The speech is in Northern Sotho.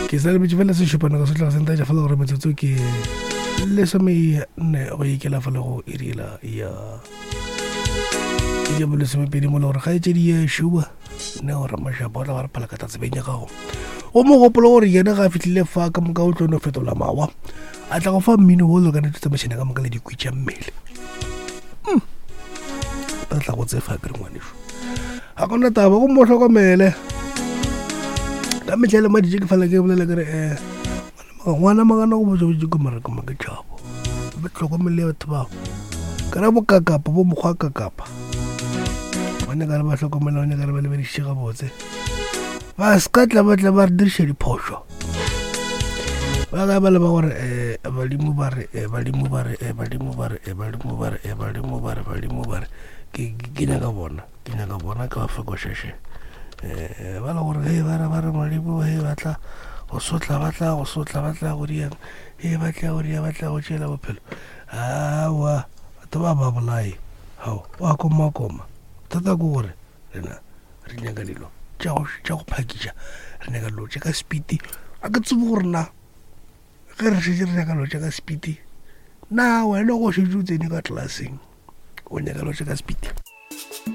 Ke sa lebetše fela sešupana ka sehlogo se ntaetša fela gore metsotso ke lesome nne go ikela fa le go iriela ya ya bolesomepedi mo le gore kgaetšedi ye šuba ne gore mašapa o tla ba re phala ka tatsebeng ya gago o mo gopolo gore yena ga a fihlile fa ka moka o tlo no fetola mawa a tla go fa mmino wo lokanetse tsamaišana ka moka le dikwi tša mmele hmm. ba tla go tsefa kere ngwaneso ga gona taba go mo hlokomele ka metlha le maditše ke fela ke bolela kere um ngwana magana go botsa botse ke mareko ma ke tšhabo ba tlhokomele batho bao ka ra bokakapa bo mokgwa kakapa ba nyaka re ba hlokomela ba nyaka re ba lebedišitše gabotse ba se ka tla ba tla ba re diriša diphošo ba ka ba le ba gore um badimo ba re um badimo ba re um badimo ba re um badimo ba re um badimo ba re badimo ba re ke nyaka bona ke nyaka bona ke ba fekošeše um eh, ba le gore he ba re ba re modimo he ba tla go sotla ba tla go sotla ba tla go diang he ba tla go dia ba tla go tšela bophelo awa batho ba ba bolae gao wa komakoma thata ke gore rena re nyaka dilo tša go phakiša re nyaka dilo tša ka sepiti a ke tsebe gore na ge re šetse re nyaka dilo tša ka sepiti na wena go šetse o tsene ka tlelaseng o nyaka dilo tša ka sepiti.